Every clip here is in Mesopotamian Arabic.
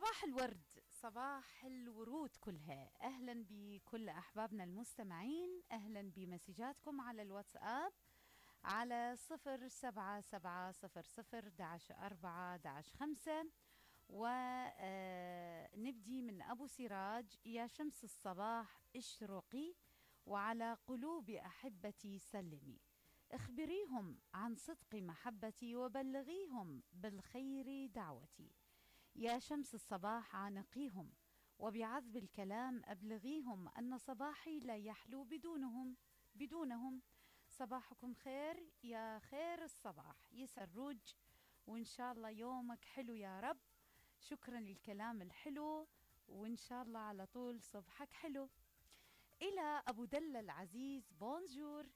صباح الورد، صباح الورود كلها. أهلا بكل أحبابنا المستمعين، أهلا بمسجاتكم على الواتساب على 07700 11 4 11 5. ونبدي من أبو سراج: يا شمس الصباح اشرقي وعلى قلوب أحبتي سلمي، اخبريهم عن صدق محبتي وبلغيهم بالخير دعوتي. يا شمس الصباح عانقيهم وبعذب الكلام أبلغيهم أن صباحي لا يحلو بدونهم. صباحكم خير يا خير الصباح يسروج، وإن شاء الله يومك حلو يا رب. شكرا للكلام الحلو، وإن شاء الله على طول صبحك حلو. إلى أبو دلة العزيز: بونجور.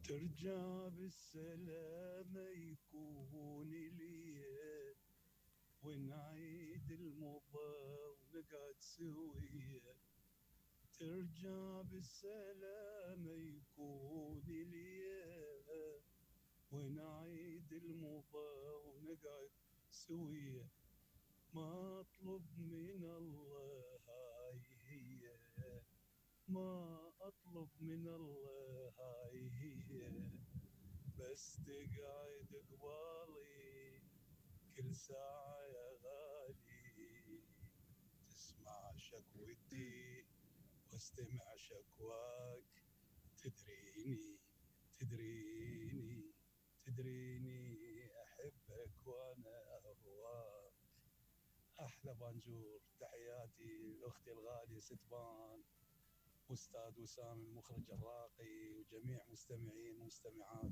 ترجع بالسلامة يكون ليا، ونعيد المضى ونقعد سويا. ترجع بالسلامة يكون ليا، ونعيد المضى ونقعد سويا. ما أطلب من الله هاي هي، ما أطلب من الله هاي هي، بس تقعد قبالي كل ساعة يا غالي. تسمع شكوتي واستمع شكواك، تدريني تدريني تدريني أحبك وأنا أهواك. أحلى بانجور، تحياتي لأختي الغالية ستبان، أستاذ وسام المخرج الراقي، وجميع مستمعين ومستمعات